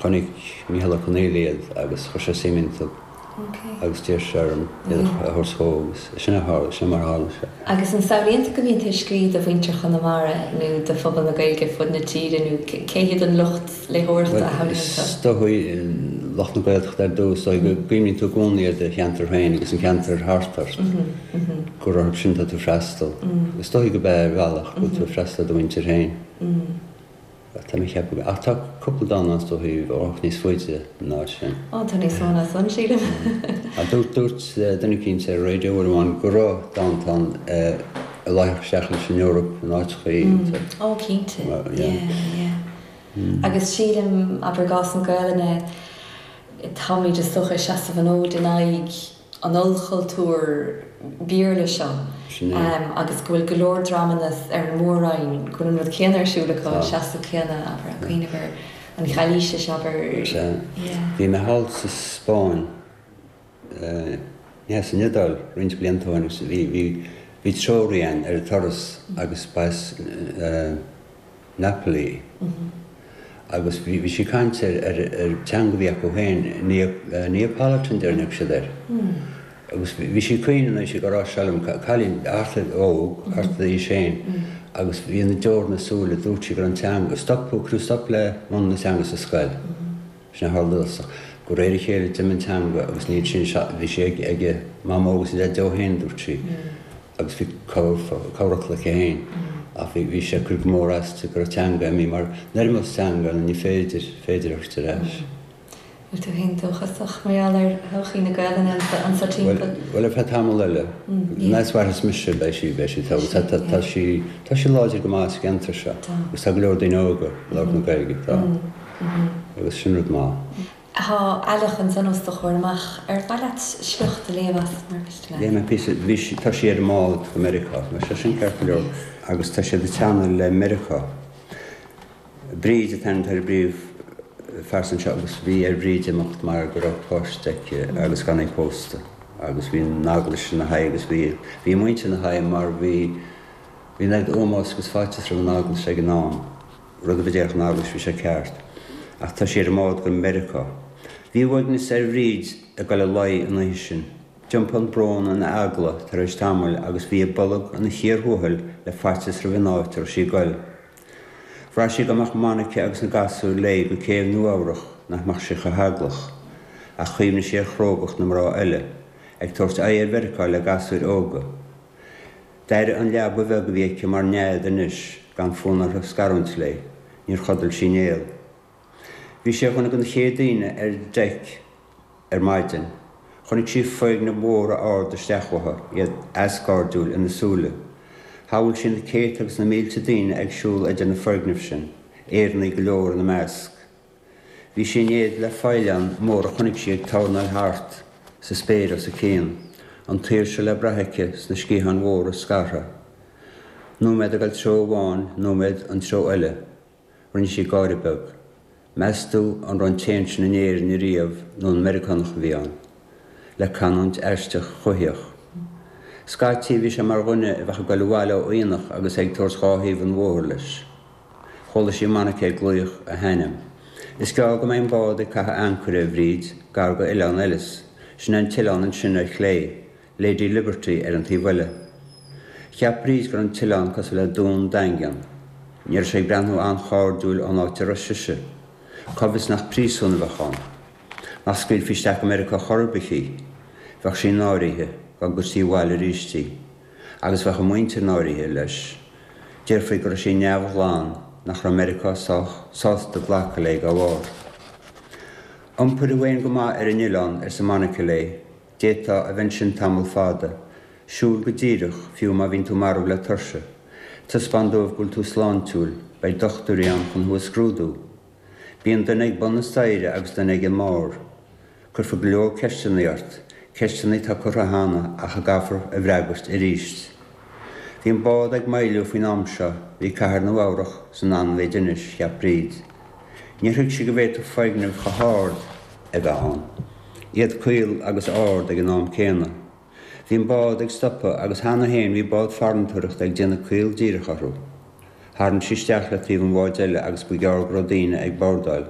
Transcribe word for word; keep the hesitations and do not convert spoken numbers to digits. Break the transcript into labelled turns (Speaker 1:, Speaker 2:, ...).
Speaker 1: Chonaic Micheál Ó Conghaile iad agus chuir sé suim iontu agus d'iarr sé orm iad a thabhairt dhó agus sin a tharla, sin mar a tharla sé.
Speaker 2: Agus an samhlaíonn tú go mbíonn tú ag scríobh do mhuintir Chonamara nó do phobal na Gaeilge fud na tíre nó cé hiad an lucht léitheoireachta a shamhlaíonn tú?
Speaker 1: Is dóigh lucht na Gaeltachta ar dtús, dóigh go gcuimhníonn tú i gcónaí ar do cheantar féin agus an ceantar thart ort, gur orthu sin atá tú ag freastal. Is dóigh go b'ea ar bhealach go bhfuil tú ag freastal ar do mhuintir féin. Tá mé ag ceapadh, ach tá cúpla dán ann is dóigh a bheadh níos faide ná sin.
Speaker 2: Ó, tá níos mó ná san, sílim.
Speaker 1: Ach dúirt, dúirt duine eicínt ar an raidió uair amháin go raibh dánta ann a luífeadh isteach leis an Eoraip in áiteachaí.
Speaker 2: Ó, cinnte. Yeah, yeah. Agus sílim, abair i gcás na Gaelainne, táimid is dócha ag seasamh an fhóid in aghaidh an ollchultúir Béarla seo agus go bhfuil go leor dreamanna ar an mór-roinn, go bhfuil an rud céanna ar siúl acu, an seasamh céanna, abair, ag cuimhneamh ar an Ghailísis, abair.
Speaker 1: Sea. Bhí mé thall sa Spáinn, ní hea, san Iodáil roinnt blianta ó shin agus bhí, bhí, bhí treoraí againn ar an turas agus ba as Napoli agus bhí bhí sí ag caint ar ar ar teanga a bhí acu féin, Neapolitan déarfainn siad air. Agus bhí sí ag caoineadh anois ag rá seo liom, cailín thart ar óg, thart ar d'aois féin, agus bhí na deora ina súile, dúirt sí go raibh an teanga, stop, cuireadh stop le múineadh na teanga sa scoil. Sin a tharla dósa. De réir a chéile d'imigh an teanga agus níl sin, bhí sí ag ag a mamó agus a deaideo féin, dúirt sí. Agus bhí corrfhocal aici féin ach bhí sé ag cur go mór aisti go raibh teanga imithe mar nuair a imeos teanga ní féidir féidir a thabhairt ar ais.
Speaker 2: Bhfuil tú féin dóchasach mar gheall ar thodhchaí na Gaelainne anseo timpeall?
Speaker 1: Bhuel ar feadh tamall eile. An fhad is mhairfeas mise beidh sí beidh sí tá tá tá sí tá sí láidir go maith sa gceantar seo agus tá go leor daoine óga ag labhairt na Gaeilge tá agus sin rud maith.
Speaker 2: Tá Aileach ansan os do chomhair amach. Ar mhaith leat sliocht a léamh as, mar mhiste leat?
Speaker 1: Léifidh mé píosa. Bhí sí, tá sí ar an mbád go Meiriceá. Tá sé sin ceart go leor. Agus tá siad ag teannadh le Meiriceá. Bríd an t-ainm atá ar an bpríomhphearsa anseo agus bhí ar Bhríd imeacht mar go raibh páiste aici agus gan í pósta. Agus bhí an eaglais ina haghaidh agus bhí, bhí a muintir ina haghaidh mar bhí, bhí an oiread ómóis agus faitíos roimh an eaglais ag an am. Rud a déarfadh an eaglais bhí sé ceart. Ach tá sí ar an mbád go Meiriceá. Bhí uaigneas ar Bhríd ag dul i luí an oíche sin. D'iompaigh an brón ina eagla tar éis tamaill agus bhí a bolg ina chíor thuathail le faitíos roimh an áit a raibh sí ag dul. Bhraith sí dá mbeadh Monica agus na gasúir léi go céibh Nua Eabhrach nach mbeadh sí chomh heaglach. Ach chuimhnigh sí ar chrógacht na mná eile, ag tabhairt aghaidh ar Mheiriceá le gasúir óga. D'airigh an leaba bheag a bhí aici mar nead anois, gan fonn uirthi scarúint léi. Níor chodail sí néal. Bhí sí ar dhuine de na chéad daoine ar deic ar maidin. Chonaic sí foirgnimh mhóra arda isteach uathu, iad eascairdiúil ina súile. Shamhail sí na céadta agus na mílte daoine ag siúl idir na foirgnimh sin, Éireannaigh go leor ina measc. Bhí sí in éad le faoileán mór a chonaic sí ag tornáil thart sa spéir os a cionn, an tsaoirse le brath aici sna sciatháin mhóra scartha. Nóiméad ag dul treo amháin, nóiméad an treo eile. Rinne sí gáire beag. Meas tú an raibh an t-éan sin in Éirinn ariamh nó an Meiriceánach a bhí ann? Le canúint aisteach chuitheach. Scaití bhí sé mar dhuine a bheadh ag dul abhaile ó aonach agus é ag tabhairt dhá thaobh an bhóthair leis. Chuala sí Monica ag glaoch a hainm. Is gearr go mbeidh an bád ag caitheamh ancaire, a Bhríd, gar go Oileán Ellis. Sin é an t-oileán ansin ar chlé, Lady Liberty ar an taobh eile. Cheap Bríd go raibh an t-oileán cosúil le dún daingean. Ní raibh sé ag breathnú an-chairdiúil ón áit a raibh sise. Cá bhfios nach príosún a bheadh ann? Nach scaoilfí isteach go Meiriceá chor ar bith í? Bheadh sí náirithe dá gcuirtí abhaile arís í. Agus bheadh a muintir náirithe, leis. Déarfaí go raibh sí neamhghlan, nach raibh Meiriceá sách sásta glacadh léi dá bharr. Iompair thú féin go maith ar an oileán, arsa Monica léi. D'fhéadfá a bheith ansin tamall fada. Siúil go díreach, fiú má bhíonn tú marbh le tuirse. Taispeáin dóibh go bhfuil tú sláintiúil, beidh dochtúirí ann chun thú a scrúdú. Bíonn duine ag bun na staighre agus duine ag an mbarr. Cuirfear go leor ceisteanna ort, ceisteanna atá curtha cheana ach a gcaithfear a bhfreagairt arís. Bhí an bád ag moilliú faoin am seo, bhí cathair Nua Eabhrach san anmhéid anois, cheap Bríd. Níor thuig sí go bhféadfadh foirgnimh chomh hard a bheith ann. Iad caol agus ard ag an am céanna. Bhí an bád ag stopadh agus cheana féin bhí bád farantóireachta ag déanamh caol díreach orthu. Tharraing sí isteach le taobh an bháid eile agus ba ghearr go raibh daoine ag bordáil.